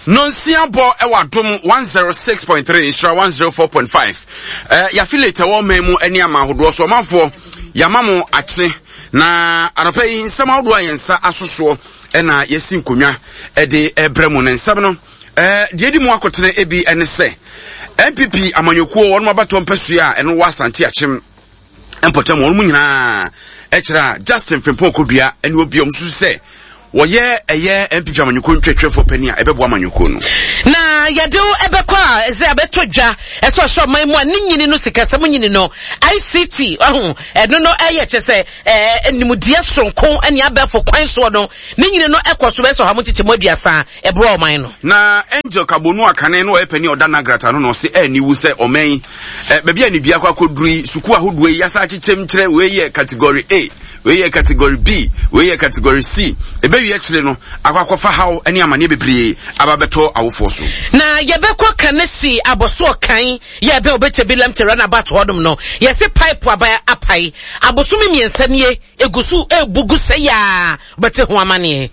Nonsia bɔ ɛwɔ Adom 106.3 Nhyira 104.5. Eh, yɛaffiliate ɛwɔ ɔman mu ne ama ahodoɔ so ɔmanfoɔ yɛama mo akye na anɔpa yi nsɛm ahodoɔ a yɛn nsa asosoɔ ɛna yɛsi nkonnwa ɛde ɛbrɛ mu ne nsɛm no eh, deɛ ɛdi mu akotene ebi ɛne sɛ NPP amanyɔkuo wɔn abatoɔ mpɛsoa a ɛno wɔ Asante Akyem mpɔtam wɔn mu nyinaa ɛkyerɛ a Justin Frimpong Kodua ɛne obi a wɔn susu sɛ wɔyɛ ɛyɛ NPP amanyɔkuo ntwɛtwɛfoɔ panin a ɛbɛboa amanyɔkuo no. Na yɛde wo ɛbɛkɔ a ɛsɛ abɛtɔ dwa ɛsɛ ɔhyɛ ɔman mu a ne nyini no sikasɛm nyini no ICT ɔho ɛno no ɛyɛ kyɛ sɛ ɛɛ nimdeɛ soronko ɛne abɛɛfo kwan soɔ no ne nyini no ɛkɔ so bɛsɛ ɔha mu nkyekyɛmu aduasa ɛboa ɔman no. Na Angel Kabonu Akane no ɔyɛ panin a ɔda Nagrata no na ɔse ɛni wu sɛ ɔman yi ɛ baabi a ne dua akɔ akɔduru yi sukuu ahodoɔ yi yasa akyekyɛm kyerɛ wei yɛ category A wei yɛ category B wei yɛ category C ɛbɛwie akyire no akɔ akɔfa haw ne amaneɛ bebree aba bɛtɔ awofoɔ so. Na yɛbɛkɔ Kanesi abɔsoɔ kan yɛ ɛbɛn Obetsebi Lemte runabout hɔnom no yɛse pipe aba apae abosome mmiɛnsa nie Egu so rebu gu sɛe a wobɛte ho amaneɛ.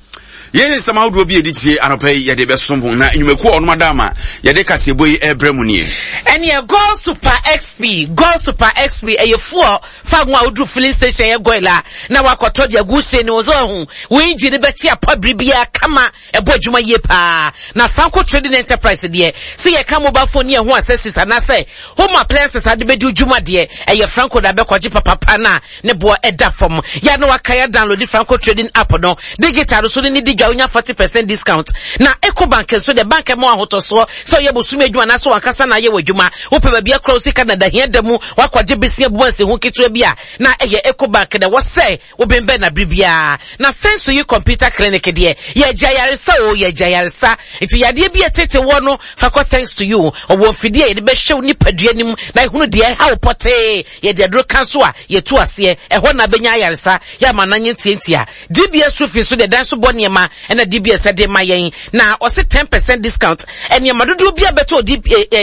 Yei ne nsɛm ahodoɔ bi a ɛdi tie anɔpa yi yɛde bɛsom ho na nnwumakuo a wɔnom ada ama yɛde kaseɛbɔ yi rebrɛ mu nie. Ɛneɛ Goil Super XP, Goil Super XP ɛyɛ fuel fa ho a woduru filling station ɛyɛ Goil a na wakɔtɔ de agu wo hyɛn no mu so wahu wo engine no bɛte apɔ bere biara kama ɛbɔ adwuma yie paa na Sanko Trading Enterprise deɛ sɛ yɛka mobile phone ne ɛho accessories anaasɛ home appliances ade bɛdi wo dwuma deɛ ɛyɛ Franco na bɛkɔgye papapa no a ne boɔ ɛda fam. Yɛ a na wakae adownloadi Franco Trading app no digital no so ne ne di dwa wonya 40% discount. Na Ecobank nso deɛ bank ɛma wo ahotɔsoɔ sɛ ɔyɛ bosome adwuma anaasɛ wankasa na ayɛ w'adwuma. Wopɛ baabi akora wo sika na da hia da mu wakɔgye besia bu ansiho ketewa bi a na ɛyɛ Ecobank na ɛwɔ sɛ wobɛnbɛn na bere biara. Na Feng Shui Computer Clinic deɛ yɛgye ayaresa o yɛgye ayaresa nti yadeɛ bi a ɛtete woɔ no fa kɔ Thanks to you ɔwɔ mfidie a yɛde bɛhwɛ wo nipadua no mu na ehunu deɛ ɛha wo pɔtee. Yɛde aduro ka nso a, yɛtu aseɛ. Ɛhɔ na bɛnya ayaresa. Yɛ ama no anyɛ ntiantia. DBS Roofing nso deɛ dan so bɔ nneɛma ɛna DBS de ma yɛn. Na ɔse 10% discount. Nneɛma dodoɔ bi a bɛtɔ wɔ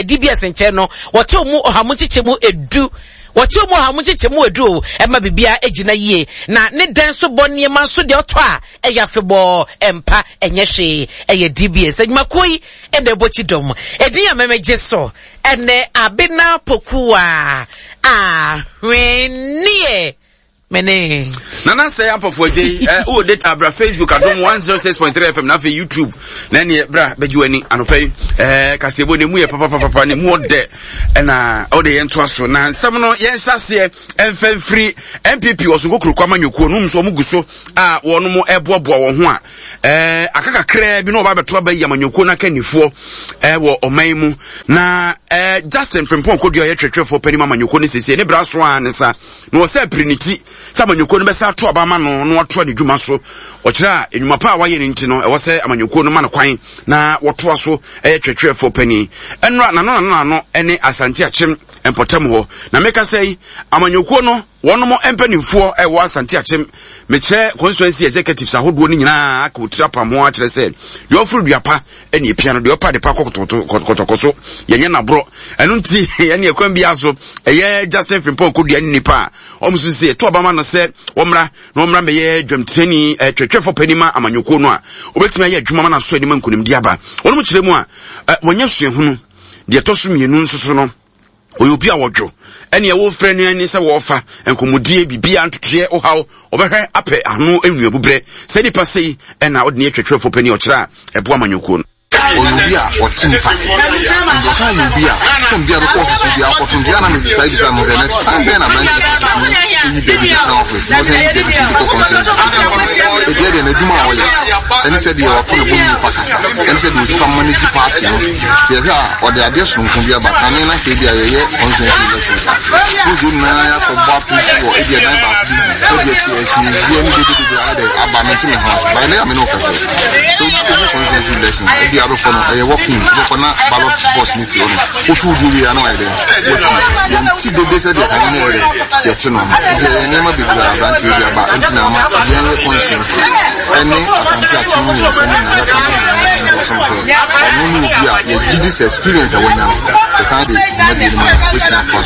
DBS nkyɛn no, wɔte mu ɔha mu nkyekyɛ mu edu. Wɔte mu ɔha mu nkyekyɛ mu edu o. Ɛma biribiara gyina yie. Na ne dan so bɔ nneɛma nso deɛ ɔtɔ a, ɛyɛ afebɔɔ. Ɛmpa, ɛnyɛ hwee. Ɛyɛ DBS. Adwumakuo yi na ɛbɔ kyidɔm. Edin a mɛmɛgye so. Ɛnɛ Abena Pokuwa ahweneɛ mene. Nana sɛ ampɔfo agye yi ɛ wɔ data bra Facebook adom 106.3 FM na afei YouTube na ɛneɛ bra bɛgye w'ani anɔpa yi ɛ kaseɛbɔ ne mu yɛ papapapa ne mu ɔdɛ ɛna ɔde yɛn toa so na nsɛm no yɛn hyɛ aseɛ ɛmfa mfiri NPP ɔsonko kurokɔ amanyɔkuo no nso wɔn gu so a wɔn ɛboaboa wɔn ho a ɛɛ aka kakraa bi na ɔba abɛto aba yi amanyɔkuo no akannifoɔ ɛɛ wɔ ɔman mu na ɛɛ Justin Frimpong Kodua ɔyɛ twerɛtwerɛfoɔ panin mu amanyɔkuo no siesie ne bra so a ne nsa na ɔsɛ apiri ne ti sɛ amanyɔkuo no bɛsa ato aba ama no na watoa ne dwuma so ɔkyerɛ a nnwuma pa a wayɛ no nti no ɛwɔ sɛ amanyɔkuo no ma no kwan na wɔtoa so ɛyɛ twerɛtwerɛfoɔ panin ɛnora nano nano nano ɛne Asante Akyem mpɔtam hɔ na meka sɛ yi amanyɔkuo no Wɔnom mpaninfoɔ a ɛwɔ Asante Akyem, mekyerɛ constituency executives ahodoɔ no nyinaa aka otiri apam ho akyerɛ sɛ deɛ ɔforo dua pa ɛne epia no, deɛ ɔpa adepa kɔ kɔtɔkɔ so, yɛnyɛ naborɔ. Ɛno nti ɛne ɛkwan biara so ɛyɛ Justin Frimpong Kodua ne nipa a wɔn nso sɛ ɛto aba ma no sɛ wɔmmra na wɔmmra mmɛyɛ dwamtirani twɛtwɛfo panin ma amanyɔkuo no a wɔbɛtumi ayɛ adwuma ma no aso anim nkonimdi aba. Wɔnom kyerɛ mu a wɔnyɛ suahunu. Deɛ ɛtɔ so mmienu nso so no, ɔyɛ obi a wɔdwo ɛne ɛwɔ frɛ no ani sɛ wɔfa nkɔmmɔdie biribiara ntotoeɛ ɔhaw ɔbɛhwɛ apɛ ano nnuabubrɛ sɛ nipa sei ɛna ɔde ne atwatwerɛfoɔ pani ɔkyerɛ a ɛboa amanyɔkuo no. Ɔyɛ obi a ɔte nipa ase. Nti ɔsan yɛ obi a tɛm biara bɛkɔ ɔfisi bi akɔto nti ana metaa bisa no sɛ nɛ time bɛn na aberanteɛ yi tumi yi deputy tena office na ɔsan yi deputy de kɔ conference ɛti ɛdeɛ n'adwuma a ɔyɛ ɛne sɛ deɛ ɔto ne bo ne nipa kasa ɛne sɛ deɛ ɔfa manage party no Sɛ yɛhwɛ a, ɔde adeɛ sononko bi aba. Kane na anka ebia yɛyɛ constituency elections a, na nsuo nyinaa yɛakɔbɔ ato wɔ ebia dan baako bi mu, ebia akyi akyinnyegyeɛ ne dede bebree ayɛ dɛ aba, mente me ho ase. But ɛnnɛ a me ne wo kasa yi, sɛ wohwɛ constituency election a, ebia wobɛkɔ no, ɛyɛ walk in, wobɛkɔ na ballot box no si hɔ no, woto wo deɛ wie a na wayɛ dɛ, woafi. Yɛnte dede sɛdeɛ kane na yɛyɛ dɛ, yɛte no no. Nti ɛyɛ nneɛma bebree a aberanteɛ bi aba nti na ama yɛnyɛ constituency ɛne Asante Akyem mmiɛnsa no nyinaa yɛaka abom nyinaa no nso sɛ ɔno ne obi a yɛgye di sɛ experience a wanya no, ɛsan de dwumadie no ma no, wobɛtumi atoa so ama.